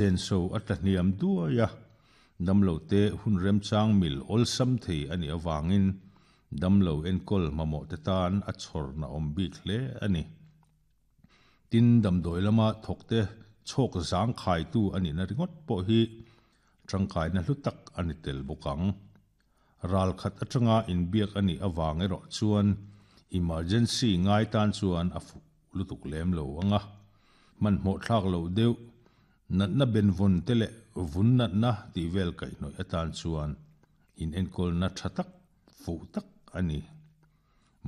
Senso a tlahniam duai a, damlote hun remchang mil awlsam thei a nih avangin damlo enkawl mamawhte tan a chhawrna awm bik hle a ni. Tin, damdawi lama thawkte chhawk zangkhaitu a nihna ringawt pawh hi tangkaina hlu tak a ni tel bawk ang. Ral khat atanga inbiak a nih avang erawh chuan emergency ngai tan chuan a fuh lutuk lem lo ang a, hmanhmawh thlak loh deuh, natna benvawn te leh vun natna tih vel kaihhnawih atan chuan inenkawlna tha tak, fuh tak a ni.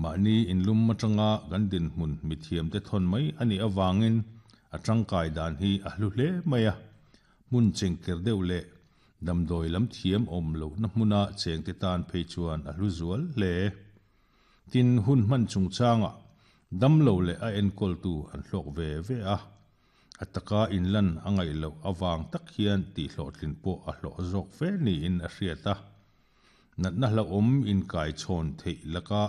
Mahni inlum atanga kan dinhmun mithiamte thawn mai a nih avangin a tangkai dan hi a hlu hle mai a, hmun chengker deuh leh damdawi lam thiam awm lohna hmuna chengte tan phei chuan a hlu zual hle. Tin, hun hman chungchangah damlo leh a enkawltu an hlawk ve ve a, a taka inlan a ngaih loh avang tak hian tihhlawhtlin pawh a hlawh zawk fe niin a hriat a. Natna hlauhawm inkaichhawn theih laka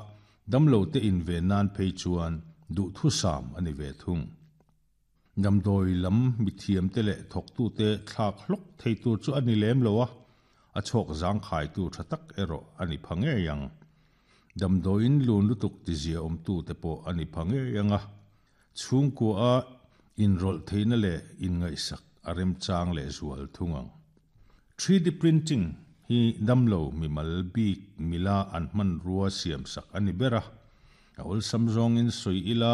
damlote inve nan phei chuan duhthusam a ni ve thung. Damdawi lam mithiamte leh thawktute thlak hlawk thei tur chu a ni lem lo a, a chhawk zangkhaitu tha tak erawh a ni pha ngei ang. Damdawiin lun lutuk tizia awmtute pawh a ni pha ngei ang a, chhungkua a inrawlh theihna leh inngaihsak a remchang lehzual thung ang. 3D printing hi damlo mimal bik mila an hmanrua siamsak a ni ber a, a awlsam zawngin sawi ila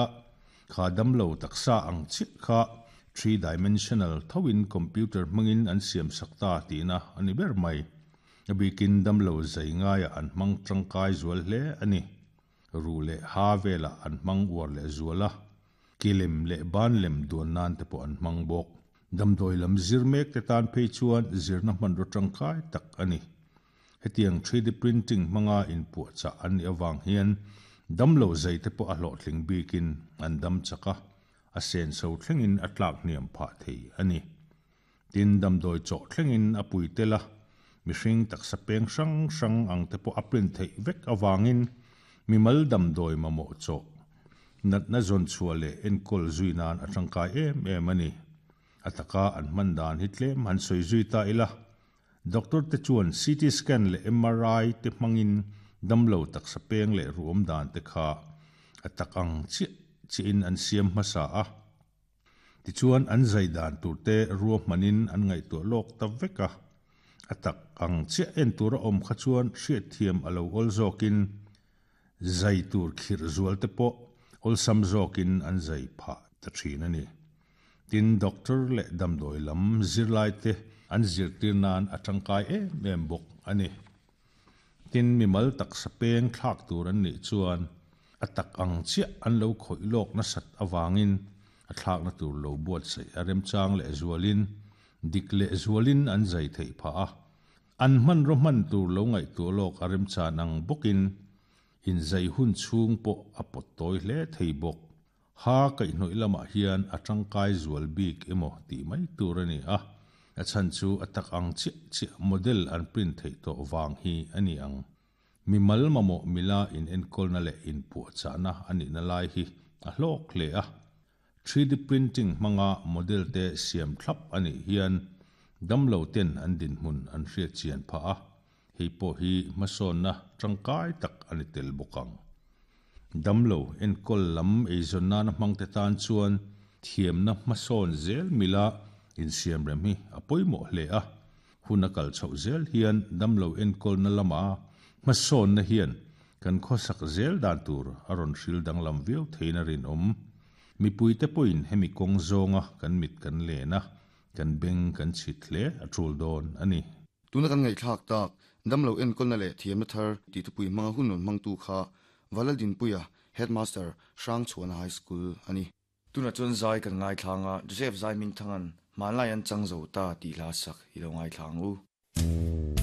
kha damlo taksa ang chiah kha three-dimensional thoin computer hmangin an siamsak ta tihna a ni ber mai. A bikin damlo zai ngaiah an hmang tangkai zual hle a ni. Ruh leh ha velah an hmang uar leh zual a, ke lem leh ban lem duan nan te pawh an hmang bawk. Damdawi lam zir mek te tan phei chuan zirna hmanraw tangkai tak a ni. Hetiang 3D printing hmanga inpuahchah an nih avang hian damlo zai te pawh a hlawhtling bikin an dam chak a, a senso thlengin a tlak hniam phah thei a ni. Tin, damdawi chawh thlengin a pui tel a, mihring taksa peng hrang hrang ang te pawh a print theih vek avangin mimal damdawi mamawh chawh natna zawn chhuah leh enkawl zui nan a tangkai em em a ni. A taka an hman dan hi tlem han sawi zui ta ila. Doctor te chuan CT scan leh MRI te hmangin damlo taksa peng leh ruam dan te kha a tak ang chiah chiahin an siam hmasa a. Tichuan an zai dan tur te ruahmanin an ngaihtuah lawk ta vek a. A tak ang chiah en tur a awm kha chuan hriatthiam a lo awl zawkin zai tur khirh zual te pawh awlsam zawkin an zai phah ta thin a ni. Tin, doctor leh damdawi lam zirlai te an zirtir nan a tangkai em em bawk a ni. Tin, mimal taksa peng thlak tur an nih chuan a tak ang chiah an lo khawih lawk nasat avangin a thlakna tur lo buatsaih a remchang lehzualin dik lehzualin an zai theih phah a. An hmanraw hman tur lo ngaihtuah lawk a remchan ang bawkin inzai hun chhung pawh a pawt tawi hle thei bawk. Ha kaihhnawih lamah hian a tangkai zual bik emaw tih mai tur a ni a, a chhan chu a tak ang chiah chiah model an print theih tawh vang hi a ni ang. Mimal mamawh mila inenkawlna leh inpuahchahna a nihna lai hi a hlawk hle a. 3D printing hmanga model te siam thlap a nih hian damlo ten an dinhmun an hriat chian phah a, hei pawh hi hmasawnna tangkai tak a ni tel bawk ang. Damlo enkawl lam eizawn nana hmangte tan chuan thiamna hmasawn zel mila insiamrem hi a pawimawh hle a, hun a kal chhoh zel hian damlo enkawlna lama hmasawnna hian kan khawsak zel dan tur a rawn hril danglam viau theiin a rinawm. Mipuite pawhin hemi kawng zawnga kan mit kan len a, kan beng kan chhit hle a tul dawn a ni. Tuna kan ngaihthlak tak, damlo enkawlna leh thiamna thar tih thupui hmanga hun rawn hmangtu kha Valaldinpuia, Headmaster, Hrangchhuana High School a ni. Tunah chuan zai kan ngaithlang a, Joseph Zaimingthanga'n Hmanlai an chang zo ta tih hla sak i lo ngaithla ang u.